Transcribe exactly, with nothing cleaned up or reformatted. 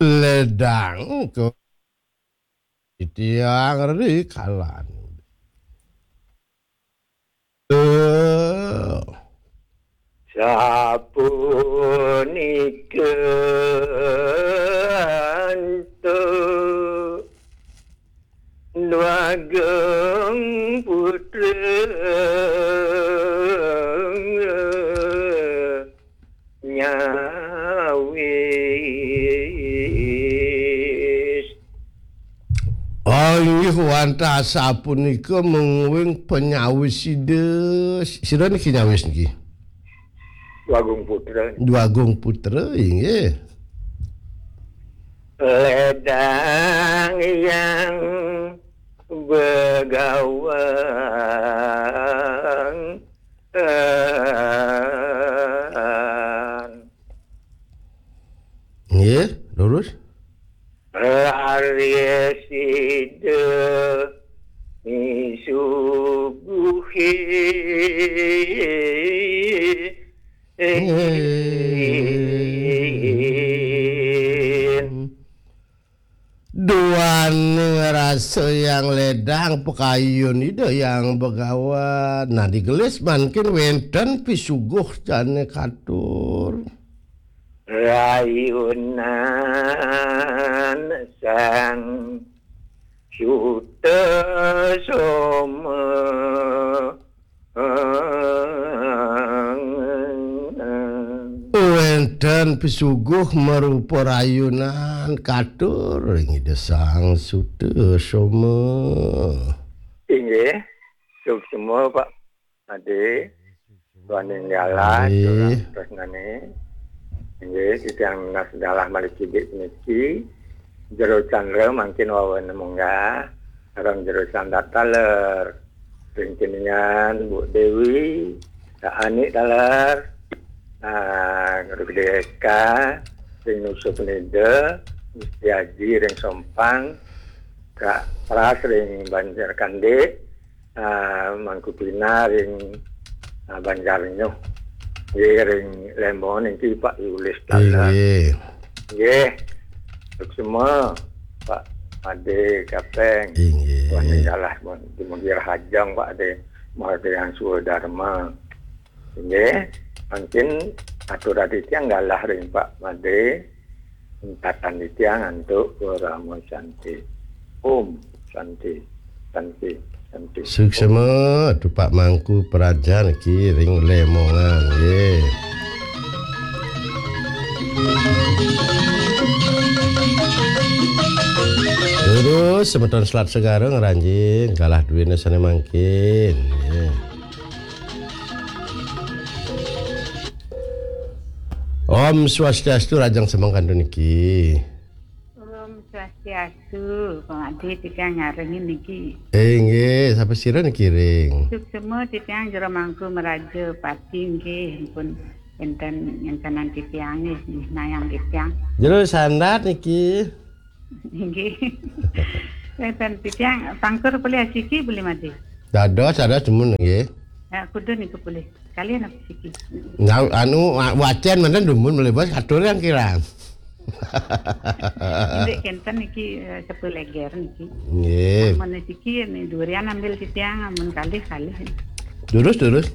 Ledang kok titiang rikalan. Eh, sapunika antuk Dwagung Putra nyawis. Oh, inggih, wantah sapunika mungguing penyawis Ida. Sira niki nyawis niki? Dwagung Putra. Dwagung Putra, inggih. Ledang yang begawan. Nggih, lurus. Laris Ida misuguhin. Duaning rasa yang ledang, pakayun Ida yang begawan. Nah, digelis mangkin wenten pisuguh jane katur. Rayunan Sang Sutasoma. Wenten pisuguh marupa rayunan katur ring Ida Sang Sutasoma. Inggih, suksma, Pak Ade, duaning galah, Inggih. Tresnane. Inggih, titiang nunas galah malih cidik puniki. Jero Candra mangkin wawan munggah, sareng Jero Sandat taler. Ring tinian, Bu Dewi, Kak Anik taler, ah, Guru Gede S K, ring Nusa Penida, Gusti Aji ring Sompang, Kak Pras ring Banjar Kande, ah, Mangku Pina ring, ah, Banjar Nyuh. Nggih, ring Lembong niki Pak Yulis taler. Inggih. Nggih. Suksma, Pak Ade Kapeng. Inggih. Wah, galah, pun. Dumugi rahajeng, Pak Ade. Margiang Swadarma. Inggih. Mangkin atur titiang galah ring Pak Ade. Entatan titiang antuk Parama Santi. Om Santi. Santi. Santi. Suksma, Tupak Mangku Praja niki ring Lemongan, nggih. Terus semeton Selat Segara ngranjing galah duene sane mangkin, nggih. Om Swastiastu, rahajeng semeng kantun niki. Om Swastiastu, Pak Ade, titiang nyarengin niki. Eh, nggih, sapa sira niki ring? Suksma titiang Jero Mangku Meraja Pati nggih, pun enten ngentenan titiang nggih, nayang titiang. Jero Sandat niki. Inggih. Enten titiang pangkur polih asiki polih Ade. Dados, dados demen nggih. Ya, kudu niku polih. Kalian apa siki? Nah, anu, wa-, wacen menten dumun melebas katur yang kirang. Indik kenten niki, eh, sepuh leger niki. Nggih. Amun siki ni durian ambil titiang, amun kalih, kalih. Durus, durus.